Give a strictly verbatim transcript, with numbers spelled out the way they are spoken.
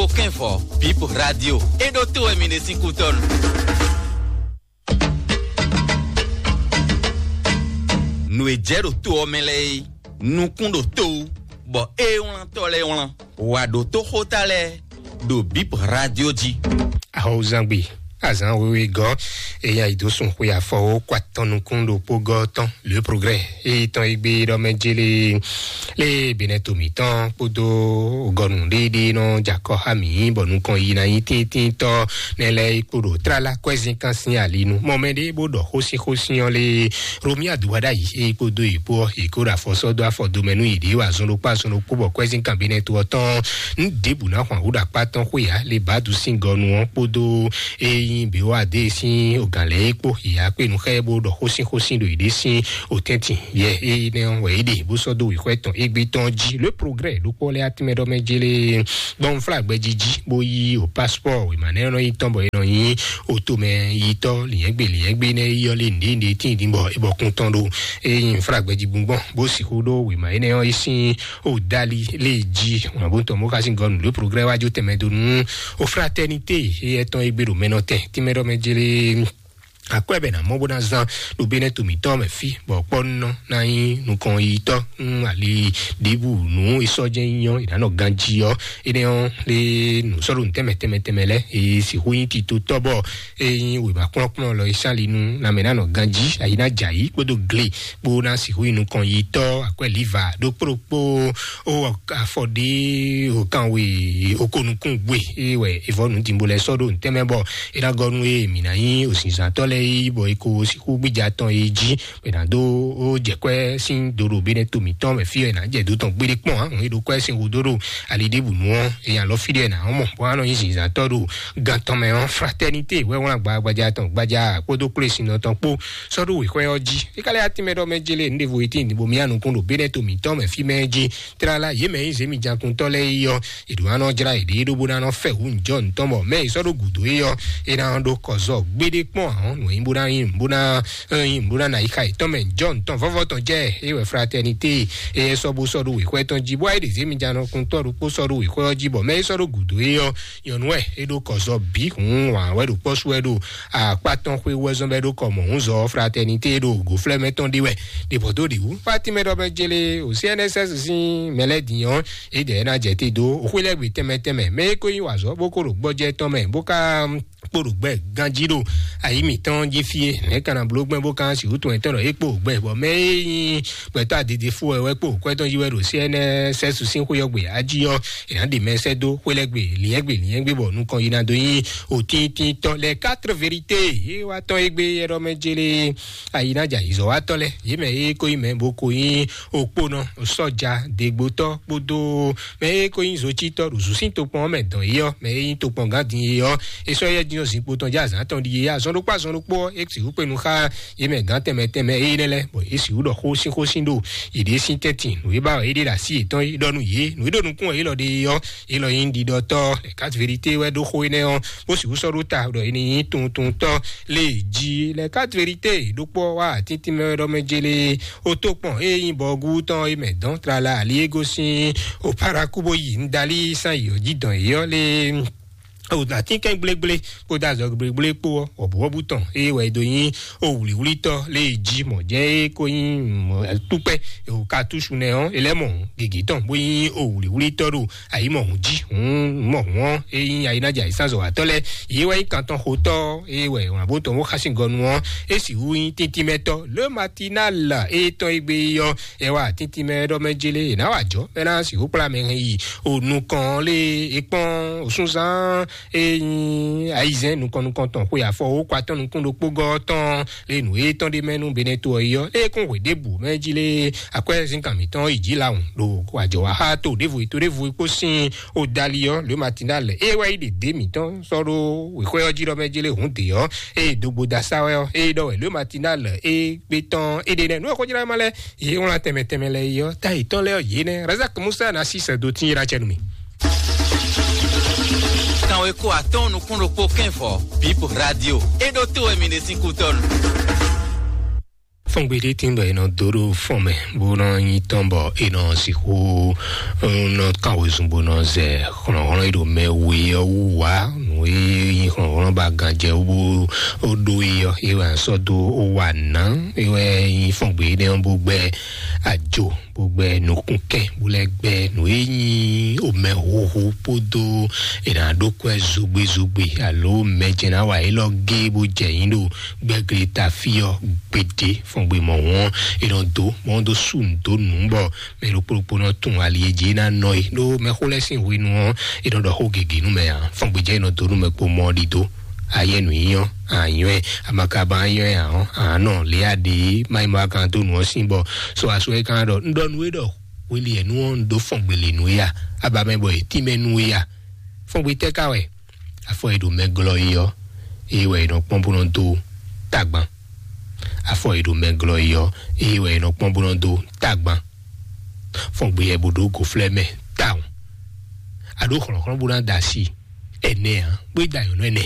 Kpó kɛ́nvɔ, Bip Radio. É ɖó tó wɛ mi ɖe sín kútɔ́nu. Nǔ e jɛ ɖo to ɔ́ mɛ lɛ́ɛ é, nukún ɖo to wú, bɔ é wlántɔ́ lɛ́ɛ wlán. Wǎ ɖó tó xóta lɛ́ɛ ɖo Bip Radio jí. Ahɔwuzangbe, azǎn wéwé gɔ́, eya yi dó sun xwe afɔwó kó atɔn nukún ɖokpó gɔ́ tɔn, Le Progrès, eyi tɔn yi gbé ɖɔ mɛ jélé, lé Benɛto mǐtɔn kpódó gɔnu ɖéɖé nɔ jakɔ xá mǐ, bɔ nukɔn yi ná nyí tíntínntɔ́ nɛ lɛ́ɛ yi kpo ɖo tlala kwɛ́zínkan sín ali nu. Mɔ mɛ ɖé bó ɖɔ xósíxósí ɔ́ lé Romia dubada yi, eyi kpódó yi kpó ɔ́, yi kó ɖo afɔ sɔ́ dó afɔ domɛ nú yi ɖě wa zɔn ɖokpó azɔn ɖokpó, bɔ kwɛ́zínkan Benɛto ɔ́ tɔn nú ɖěbǔ ná xwan hú ɖo akpá tɔn xwé ǎ, le bǎ dú sín gɔnu ɔ́ kpódó eyi Bewade sín ogǎn lɛ́ɛ é kpó, yě wá kpé nú xá ɛ bó ɖɔ xósín xósín ɖo yěɖée sín òtɛ́ntin. Yɛ énɛ́ ɔ́ wɛ é ɖe bó sɔ́ dó wěxwɛ́ tɔn égbé tɔn jí. Le Progrès ɖokpó lɛ́ɛ atínmɛ ɖɔ mɛ jélé gbɔn flágbɛ́ jí jí bó yí o paspɔ́ wěma nɛ́ nɔ nyí tɔn bɔ é nɔ nyí o tomɛ yitɔ́ lǐnyɛ́gbe lǐnyɛ́gbe nɛ́ yí ɔ́ lé nǔɖé nǔɖé tíin dín bɔ é bɔ kún tɔn ɖó. É nyí flágbɛ́ jí gbɔn bó sixú ɖó wěma énɛ́ ɔ́ yí sín o dali lé jí. Wǎn bó tɔn bó xá sín gɔnu. Le Progrès wá jó tɛnmɛ dó nú o fraternité éyɛ́ tɔn e gbé ɖo mɛ nɔ tɛn tínmɛ ɖɔ mɛ jélé akwɛ́ bɛ ná mɔ bó ná zán ɖo Benɛto mǐtɔn mɛ fí, bɔ kpɔ́nɔ ná nyí nukɔn yitɔ́ nú ali ɖěbǔ nú e sɔ́ jɛ́n nyí ɔ́, è nǎ nɔ ganjí ɔ́. Énɛ́ ɔ́ lé nǔ sɔ́ ɖo nǔ tɛnmɛ tɛnmɛ tɛnmɛ lɛ́ɛ, e sixú nyí titotɔ́ bɔ e nyí wěma kplɔ́nkplɔ́n lɔ e sán ali nú lanmɛ ná nɔ ganjí, ayi ná jɛ ayǐ kpódó gle kpó ná sixú nyí nukɔn yitɔ́ akwɛ́ liva ɖokpó ɖokpó. O afɔ ɖé o kan we o ko nukún gbe e wɛ evɔ nu dimbo lɛ sɔ ɖo ntɛmɛ bɔ e na gɔ nu e mi na nyi o zinzantɔ lɛ yi bɔ e ko siku gbija tɔn e ji e na do o jɛ kwɛ sin do ɖo be ne to mitɔn mɛ fi e na jɛ do tɔn gbede kpɔn a e ɖo kwɛ sin wo do ɖo ali ɖe bu nu ɔ e alɔ fi ɖe na mɔ bɔ anɔ nyi zinzantɔ ɖo gan tɔn mɛ ɔ fraternité wɛ wlan gba gbaja tɔn gbaja kpódó kplé sin nɔ tɔn kpó sɔ ɖo wexwɛ ɔ ji e ka lɛ atin mɛ ɖɔ mɛ jele nu ɖevo e tin bo mi anukun ɖo be ne to mitɔn mɛ fi mɛ ji tlala yě mɛ nyí zěmijakuntɔ́ lɛ́ɛ yi ɔ́, è ɖǒ ná nɔ jlá yěɖée ɖó bó ná nɔ fɛ hǔn jɔ nǔtɔn bɔ mɛ e sɔ́ ɖo gǔdo é ɔ́, é ná ɖó kɔ zɔ gbéɖé kpɔ́n ahɔn nǔ e nyí bó ná nyí bó ná nyí bó ná ná yi xa yětɔn mɛ jɔ nǔtɔn vɔ́vɔ́ tɔn jɛ é wɛ fraternité é sɔ́ bó sɔ́ ɖó wěxwɛ tɔn jí bó wá yi ɖe zěmijakuntɔ́ ɖokpó sɔ́ ɖo wěxwɛ ɔ́ jí bɔ mɛ e sɔ́ ɖo gǔdo é ɔ́, nyɔ̌nu wɛ é ɖó kɔ zɔ bǐ hǔn wǎn wɛ ɖo kpɔ́ sú wɛ ɖo akpá tɔn xwé wɛ zɔn bɛ ɖó kɔ mɔ̌ húnzɔ fraternité ɖo gǒflɛ́mɛ tɔn ɖe wɛ ɖe bɔ dó ɖe wú. Fatimɛ ɖɔ bɛ jele o C N S S sín mɛ lɛ́ɛ din ɔ́, é dɛ ná jɛ te dó xwé lɛ́ɛ gbe tɛnmɛ tɛnmɛ mɛ é ko nyí wǎzɔ bó ko ɖo gbɔjɛ tɔn mɛ bó ka kpo ɖo gbɛ ganjí ɖo ayi mǐtɔn jí fí é nɛ̌ ka ná bló gbɛn bó ka si wú tɔn etɔn ɖɔ é kpo gbɛ bɔ mɛ é nyí gbɛtɔ́ adede fó wɛ wɛ kpo kwɛ tɔn yi wɛ ɖo C N S S sín xwé ɔ́ gbe ají ɔ́, è nǎ ɖe mɛ sɛ́ dó xwé lɛ́ɛ gbe lǐnyɛ́gbe lǐnyɛ́gbe bɔ nukɔn yi ná dó nyí òtíntítɔ́ lɛ quatre vérité é wá tɔn égbé é ɖɔ mɛ jélé ayi ná jɛ ayǐzɔ́wátɔ́ lɛ́ɛ yě mɛ é ko nyí mɛ bó ko nyí okpónɔ sɔ́ja degbotɔ́ kpódó mɛ é ko nyí zocítɔ́ ɖo zǔsín tokpɔn ɔ́ mɛ dɔn é ɔ́ mɛ é nyí tokpɔngán din é ɔ́ é sɔ́ yɛ dín ɔ́ zinkpo tɔn jɛ azǎn tɔn ɖi é azɔn ɖokpó azɔn ɖokpó ɔ́ é sixú kpé nu xá yě mɛ gǎn tɛnmɛ tɛnmɛ é nɛ́ lɛ́ɛ bɔ é sixú ɖɔ xó sín xó sín ɖo yěɖée sín tɛ́ntin nǔ e ba wɛ é ɖe ɖo así yětɔn é ɖɔ nú yě nǔ e ɖo nukún wɛ é lɔ ɖe é ɔ́ é lɔ nyí ɖiɖɔtɔ́ lɛ quatre vérité wɛ ɖó xó énɛ́ ɔ́ bó sixú sɔ́ ɖó ta ɖɔ é ní nyí tuntuntɔ́ lé jí lɛ quatre vérité ɖokpó wá atíntín mɛ ɖɔ mɛ jélé ó tó kpɔn é nyí bɔgú tɔn é mɛ dɔn tlala ali é gosín ó paraku bó yi ńdalí sán yi ɔ́ jí dɔn é ɔ́ lé o atínkɛn gblégblé kpódó azɔ gblégblé kpó ɔ́ wɔ̌búwɔ́bú tɔn eye wɛ é dó nyí o wlǐwlítɔ́ lé jí mɔ̌ jɛ́n é kó nyí túkpɛ́ o katúsu nɛ ɔ́ é lɛ́ mɔ gěgé tɔn bó nyí o wlǐwlítɔ́ ɖo ayǐ mɔ hǔn jí hǔn mɔ hǔn ɔ́ é nyí ayínájà ayísánzɔ́watɔ́ lɛ́ɛ yě wɛ nyí kantɔn xotɔ́ é wɛ wǎn bó tɔn bó xá sín gɔnu ɔ́ é sixú nyí tíntímɛtɔ́ le matinal é tɔn é gbé ɔ́ é wá tíntímɛ ɖɔ mɛ jélé é ná wá jɔ mɛ ná sixú kplá mɛ hɛn yi o nukɔn lé é kpɔ́n o súnzán é nyí ayizɛ́n nukɔn nukɔn tɔn xwe afɔ ó kó atɔ́ nukún ɖokpó gɔ́ tɔn lé nǔ é tɔn ɖé mɛ nú beneto ɔ́ yi ɔ́ lé kún hwe ɖěbǔ mɛ jí lé akwɛ́ zínkan mǐtɔn yi jí lawun ɖo àjɔwáxá to ɖěvo yi to ɖěvo yi kpó sín o dali ɔ́ le matinal é wá yi ɖe dě mǐtɔn sɔ́ ɖó wěxwé ɔ́ jí ɖɔ mɛ jí lé hǔn dě ɔ́ é dogbo da sá wɛ ɔ́ é ɖɔ wɛ le matinal é gbé tɔn é ɖe nɛ nú ɔ́ xó jlá ma lɛ yě wlán tɛnmɛ tɛnmɛ lɛ yi ɔ́ ta yětɔn lɛ ɔ́ yě nɛ razak musa na sí sɛ do tín yi ɖa cɛ nú mi. Kan wé kó atɔ́n nukún ɖokpó kɛ́nvɔ Bip Radio é ɖó tó wɛ mi ɖe sín kútɔ́nu. Fɔngbe ɖé tín bɔ è nɔ dó ɖo fɔn mɛ bó nɔ nyí tɔn bɔ è nɔ sixú nɔ kan wezun bó nɔ zɛ hlɔ̌nhlɔ́n e ɖo mɛ we ɔ́ wú wá. Nǔ e nyí hlɔ̌nhlɔ́n ba ganjɛ wú bó ɖó e ɔ́, é wɛ a sɔ́ dó ó wa nǎ. É wɛ nyí fɔngbe énɛ́ ɔ́ bó gbɛ́ ajo bó gbɛ́ nukúnkɛn bó lɛ́ gbɛ́ nǔ e nyí omɛhuhu kpódó è nǎ ɖó kwɛ́ zogbezogbe alo mɛ jɛ ná wa élɔ́ gé bó jɛ nyí ɖo gbɛ́gle ta fí ɔ́ gbede. Fɔngbe mɔ̌hun ɔ́, è nɔ dó mɔ dó sú nǔ dó nǔ bɔ mɛ ɖokpó ɖokpó nɔ tún ali e jí ná nɔ yi ɖó mɛxó lɛ́ɛ sín hwenu ɔ́, è nɔ ɖɔ xó gěgé nú mɛ ǎ. Fɔngbe jɛ è nɔ dó nú mɛ kpo mɔ ɖi dó. Ayɛ nǔ nyí ɔ́, anyɔ́ ɛ, amakaba anyɔ́ ɛ ǎ ɔ́, àánɔ lě a ɖe má yi ma kan dó nǔ ɔ́ sín bɔ sɔ aso ɛ kan ɖɔ un ɖɔ nú we ɖɔ hweli ɛ nú ɔ́ un ɖó fɔngbe le nú we a? Aba mɛ bɔ è tín mɛ nú we a? Fɔngbe tɛ́ ka wɛ? Afɔ e ɖo mɛ glɔ́ é ɔ́, é wɛ è nɔ kpɔ́n bó nɔ dó tagban. Afɔ e ɖo mɛ glɔ́ é ɔ́, é wɛ è nɔ kpɔ́n bó nɔ dó tagban. Fɔngbe ɛ bó ɖó gǒflɛ́ mɛ tawun. A ɖó hlɔ̌nhlɔ́n bó ná da asi ɛnɛ ǎ, bó yi da nyɔ̌nu ɛnɛ.